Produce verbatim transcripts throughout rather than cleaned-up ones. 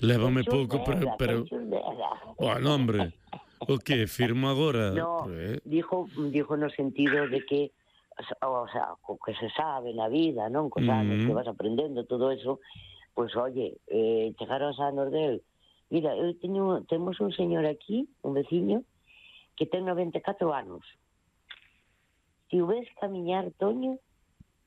Lévame pouco, pero... pero... Bueno, hombre, o que firmo agora? No, eh? dijo, dijo no sentido de que, o sea, co que se sabe na vida, non? Cos anos que vas aprendendo, todo eso, pois, pues, oye, eh, chegar aos anos del... Mira, eu teño, temos un señor aquí, un veciño, que ten noventa e catro anos. Se o ves camiñar, Toño,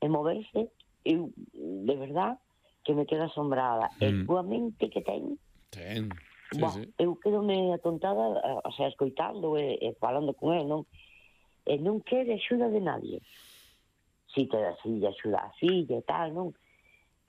e moverse, eu, de verdad, que me quedo asombrada. Mm. E coa mente que ten... Ten, sí, bah, sí. Eu quedo-me atontada, o sea, escoitando e, e falando con ele, non? E non quere axuda de nadie. Si te da silla, axuda a silla e tal, non?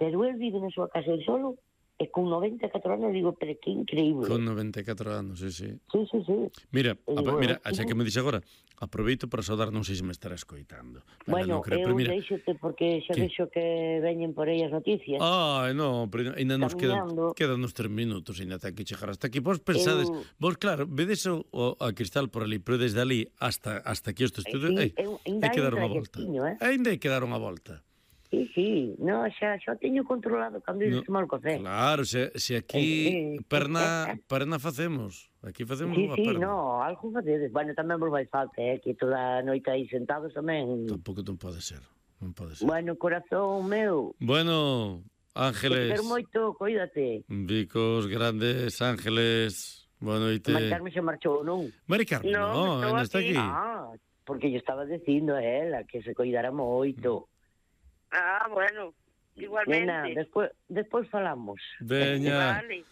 Pero ele vive na súa casa el solo, e con noventa e catro anos, digo, pero que increíble. Con noventa e catro anos, sí, sí. Sí, sí, sí. Mira, E, a, bueno, mira, xa que me dixe agora, aproveito para saudar, non sei se me estará escoitando. Bueno, non creo, eu mira, deixote porque xa ¿qué? vexo que veñen por aí as noticias. Ah, no, pero ainda nos quedan, quedan uns tres minutos, ainda ten que chegar hasta aquí. Vos pensades, eu... vos claro, vedes o, o a Cristal por ali, pero desde ali hasta hasta aquí este estudio, sí, ei, hai que dar unha volta. Eh? Ainda hai que dar unha volta. Sí, sí, no, xa, xa teño controlado cando ides no, tomar o café. Claro, se, se aquí eh, perna, perna facemos. Aquí facemos sí, unha sí, perna. No, algo facedes. Bueno, tamén vos vai falta, eh, que toda a noite aí sentados tamén. Tampouco non pode ser. Non pode ser. Bueno, corazón meu. Bueno, Ángeles. Te quero moito, coídate. Bicos grandes, Ángeles. Boa noite. Mari Carmen se marchou, non? Mari Carmen, no, non está aquí. Ah, porque yo estaba dicindo a ela que se coidara moito. Ah, bueno, igualmente. Nena, despois, despois falamos. Veña. Vale.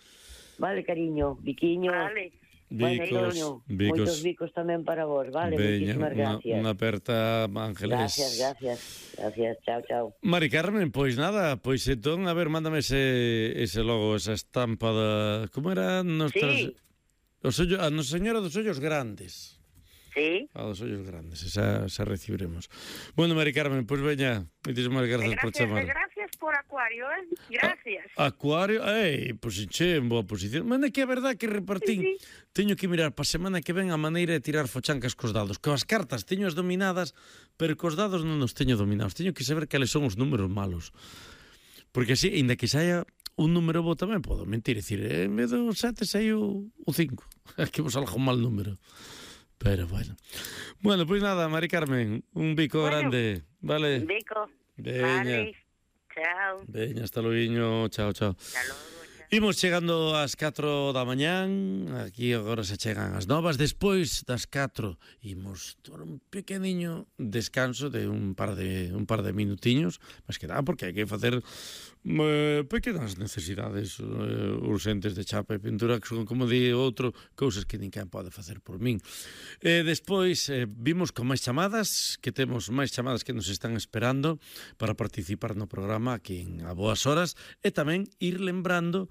Vale, cariño, biquiño. Vale. Bicos, bueno, bicos. Moitos bicos tamén para vos, vale? Veña, Muchísimas gracias. Unha aperta, Ángeles. Gracias, gracias. Gracias, chao, chao. Mari Carmen, pois nada, pois entón, a ver, mándame ese, ese logo, esa estampa da... Como era? Nostras... Sí. Os ollo... A Nosa Señora dos Ollos Grandes. Sí. A dos ollos grandes, esa, esa recibiremos. Bueno, Mari Carmen, pois pues veña, moitísimas gracias, gracias por chamar. Gracias por Acuario, eh? Gracias. A, acuario, ei, pois pues, che, en boa posición. Mas é que é verdad que repartín, sí, sí. Teño que mirar para a semana que ven a maneira de tirar fochancas cos dados. Que as cartas teño as dominadas, pero cos dados non os teño dominados. Teño que saber cales son os números malos. Porque así, ainda que saia un número bo tamén podo mentir, e dicir, en vez do sete saiu o cinco. É que vos salga un mal número. Pero bueno. Bueno, pois pues nada, Mari Carmen, un bico bueno, grande, vale? Un bico. Veña. Vale. Chao. Veña, hasta logo, chao, chao. Hasta logo. Imos chegando ás catro da mañán, aquí agora se chegan as novas, despois das catro imos tomar un pequeniño descanso de un par de un par de minutiños, máis que nada porque hai que facer eh, pequenas necesidades eh, urgentes de chapa e pintura, que son, como di outro, cousas que ninguén pode facer por min. E despois eh, vimos con máis chamadas, que temos máis chamadas que nos están esperando para participar no programa aquí en A Boas Horas, e tamén ir lembrando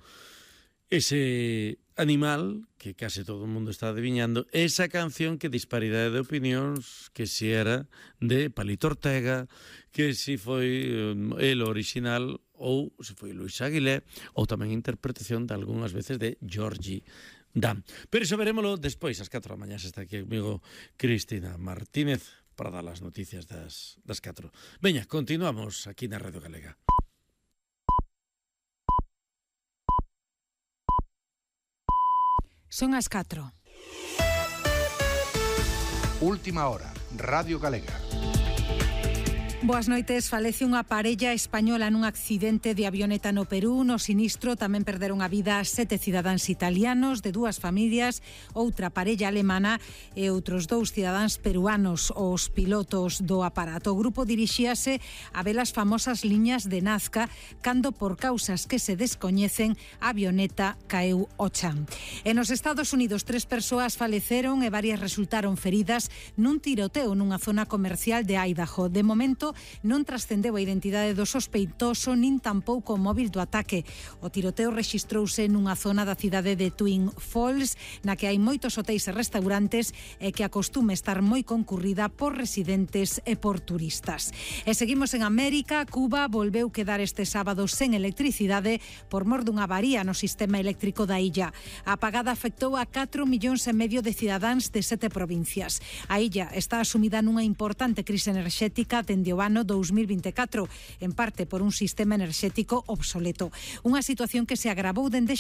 ese animal que case todo o mundo está adivinhando, esa canción que disparidade de opinións, que si era de Palito Ortega, que si foi el original ou se foi Luis Aguilé, ou tamén interpretación de algunhas veces de Georgie Dan. Pero iso verémolo despois, ás catro da mañá, está aquí comigo Cristina Martínez para dar as noticias das, das catro. Veña, continuamos aquí na Radio Galega. Son as catro. Última hora, Radio Galega. Boas noites. Falece unha parella española nun accidente de avioneta no Perú. No sinistro tamén perderon a vida sete cidadáns italianos de dúas familias, outra parella alemana e outros dous cidadáns peruanos, os pilotos do aparato. O grupo dirixíase a ver as famosas liñas de Nazca cando, por causas que se descoñecen, a avioneta caeu ao chan. E nos Estados Unidos, tres persoas faleceron e varias resultaron feridas nun tiroteo nunha zona comercial de Idaho. De momento, non trascendeu a identidade do sospeitoso nin tampouco o móvil do ataque. O tiroteo rexistrouse nunha zona da cidade de Twin Falls, na que hai moitos hotéis e restaurantes e que acostuma estar moi concurrida por residentes e por turistas. E seguimos en América. Cuba volveu quedar este sábado sen electricidade por mor dunha avaría no sistema eléctrico da illa. A apagada afectou a catro millóns e medio de cidadáns de sete provincias. A illa está asumida nunha importante crise enerxética dende o ano dous mil vinte e catro, en parte por un sistema enerxético obsoleto. Unha situación que se agravou dende xa